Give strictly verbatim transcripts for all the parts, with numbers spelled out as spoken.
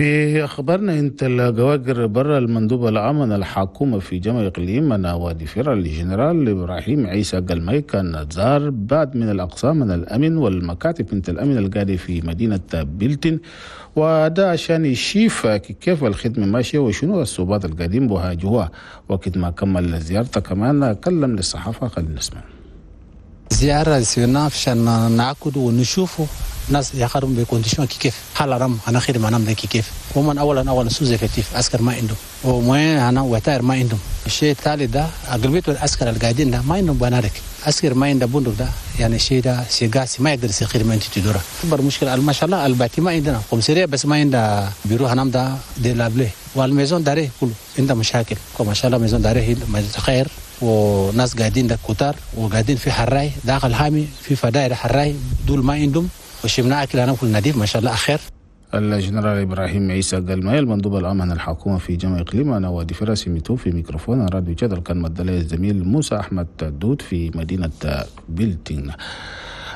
في أخبارنا انت الجواجر برا المندوب العام الحكومة في جامعة إقليم أنا وادي فرع الجنرال إبراهيم عيسى قلمي كان زار بعد من الأقسام من الأمن والمكاتب انت الأمن القادي في مدينة بلتن، وده عشان يشيف كيف الخدمة ماشية وشنو الصعوبات القديم بها جوا. وقت ما كمل زيارته كمان كلم للصحافة، خلينا نسمع. زيارة سيرنا عشان نعقد ونشوفه ناس يخدموا ب conditions كيف حال رم انا خدمة انا من كيف ومن اولا اولا sous-effectif عسكر ما عندهم وموين انا وتاير ما عندهم. الشيء الثالث ده اغلبية العسكر القاعدين ده ما عندهم بنادق، عسكر ما عنده بندق ده يعني الشيء ده شيء قاسي ما يقدر يصير خدمة انت تدوره. اكبر مشكلة ما شاء الله ال bâtiment عندنا commissariat بس ما عنده بيرو هنام ده délabré وال maison d'arrêt كله عنده مشاكل. ما شاء الله maison d'arrêt خير وناس قاعدين ده كتار وقاعدين في حراي داخل حامي في فدائر حراي دول ما عندهم وشمنا أكل أنا كل نظيف ما شاء الله أخير. الجنرال إبراهيم عيسى قلمي المندوب العام عن الحكومة في جامعة إقليم أنا وادي فراسي ميتو في ميكروفون راديو جدل كان مدلي الزميل موسى أحمد دود في مدينة بلتين.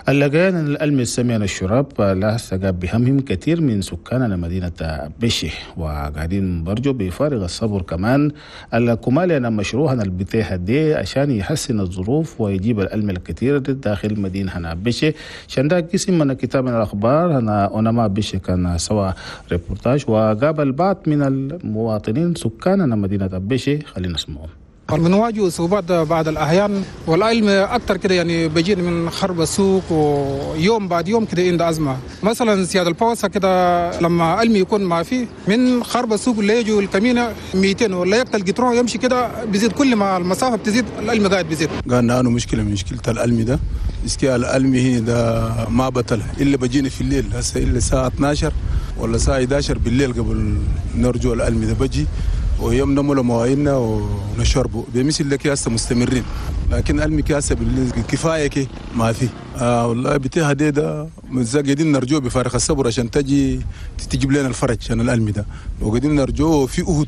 اللقيان الألمي السميان الشراب لا سقاب بهمهم كثير من سكان مدينة بشي وقاعدين برجو بفارغ الصبر كمان الكمالي أنا مشروعا البتاحة دي عشان يحسن الظروف ويجيب الألم الكثير داخل مدينة هنا بشي. عشان ده قسم من كتاب الأخبار هنا أنا بشي كان سوا ريبورتاج وقابل بعض من المواطنين سكان مدينة بشي، خلينا نسمعهم. بنواجه صعوبات بعض الأحيان والعلم أكثر كده يعني بيجينا من خرب السوق ويوم بعد يوم كده عند أزمة. مثلا سيادة البوسة كده لما علم يكون ما فيه من خرب السوق اللي يجوا الكمينة مئتين ولا يقتل قطرون يمشي كده بيزيد كل ما المسافة بتزيد العلم قاعد بيزيد. قالنا أنا مشكلة من مشكلة العلم ده إسكي العلم هنا ده ما بطل إلا بجينا في الليل هسه إلا الساعة اثنا عشر ولا الساعة إحدى عشر بالليل قبل نرجو العلم ده بجي ويوم نملوا مواعيننا ونشربوا بمثل لك هسه مستمرين، لكن علمي كاسه بالكفايه كي ما في. آه والله بتاع ده ده قاعدين نرجوه بفارغ الصبر عشان تجي تجيب لنا الفرج عشان العلم ده وقاعدين نرجوه في أهد.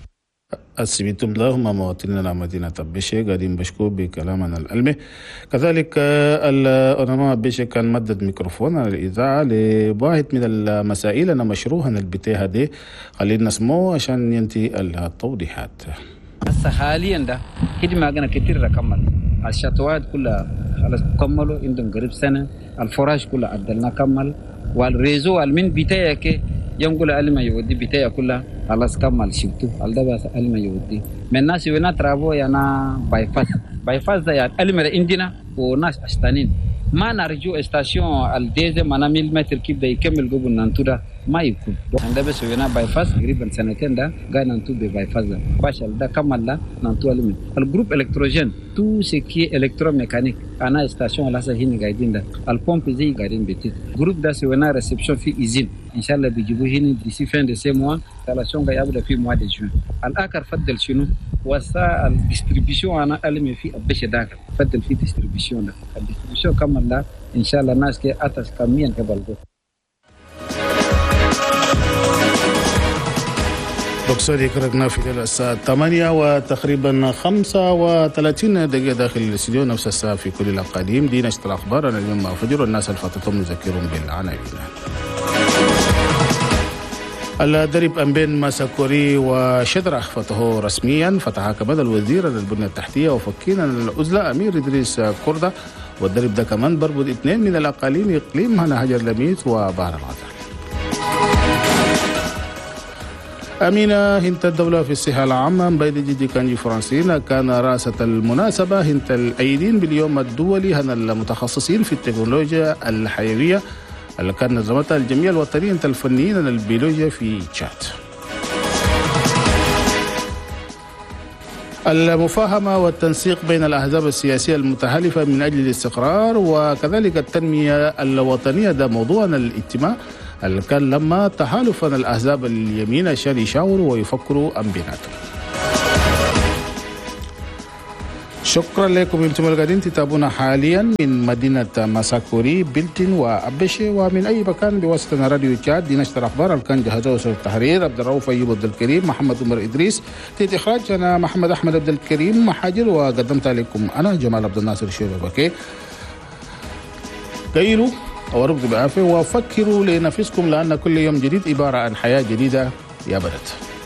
السبيتم لهم مواطنين مدينة بشي قاعدين بشكو بكلامنا الألمي. كذلك الأنما بشي كان مدد ميكروفون على الإذاعة لواحد من المسائل أنا مشروعا البتاعة دي، خلينا نسمعه عشان ينتهي التوضيحات. هسه حاليا ده خدمة أنا كتير ركمل الشطوات كلها خلاص كملوا عندهم قريب سنة، ال forage كلها عدلنا كمل، وال réseau من بتاعك ينقول علم يودي بتاعي كلها خلاص كمل شفتو على بس علم يودي من الناس وين travaux يعني bypass bypass ده يعني علم عندنا وناس أشتانين ما نرجو station ال deuxième أنا mille mètres كيف ده يكمل قبل نانتو ده ما يكون عند بس وين bypass قريبا سنتين ده قاعد نانتو ب bypass ده باش ده كمل ده نانتو علم ال groupe électrogène tout ce qui est électromécanique أنا station لا هنا قاعدين ده البومب زي قاعدين بيتي groupe ده سوينا réception في usine ان شاء الله بيجيبوه هنا d'ici fin de ce mois installation يبدا في mois de juin. الاخر فضل شنو وسا ال distribution انا علمي في ابش داخل فضل في distribution ده ال distribution كمل ده ان شاء الله الناس كي اتس كميا قبل بقصد يكرقنا في الساعة ثمانية وتقريبا خمسة وثلاثين دقيقة داخل الاستديو، نفس الساعة في كل الأقاليم. دي نشرة الأخبار. أنا اليوم مع فجر والناس اللي فاتتهم نذكرهم بالعناوين. الدرب أمبين ماساكوري وشدرة فتحه رسميا، فتح كمان الوزير للبنية التحتية وفكينا العزلة أمير إدريس كردة، والدرب ده كمان بربط اثنين من الأقاليم إقليم هنا هجر لميت وبحر الغزال. أمينة هنت الدولة في الصحة العامة بيد جيجي كانجي فرانسينا كان رأسة المناسبة هنت الأيدين باليوم الدولي هنا المتخصصين في التكنولوجيا الحيوية اللي كان نظمتها الجمعية الوطنية الفنيين البيولوجيا في تشاد. المفاهمة والتنسيق بين الأحزاب السياسية المتحالفة من أجل الاستقرار وكذلك التنمية الوطنية ده موضوعنا الاجتماع اللي كان لما تحالفا الأحزاب اليمين عشان يشاوروا ويفكروا أم بيناتهم. شكرا لكم انتم القاعدين تتابعونا حاليا من مدينة ماساكوري بلتين وأبشي ومن أي مكان بواسطة راديو تشاد. دي نشر الأخبار اللي كان جهزه وسط التحرير عبد الرؤوف أيوب عبد الكريم، محمد عمر إدريس، تيت إخراج أنا محمد أحمد عبد الكريم محاجر، وقدمت لكم أنا جمال عبد الناصر شيبة. قيلوا وربط بعافية وفكروا لنفسكم لأن كل يوم جديد عبارة عن حياة جديدة. يا بدت.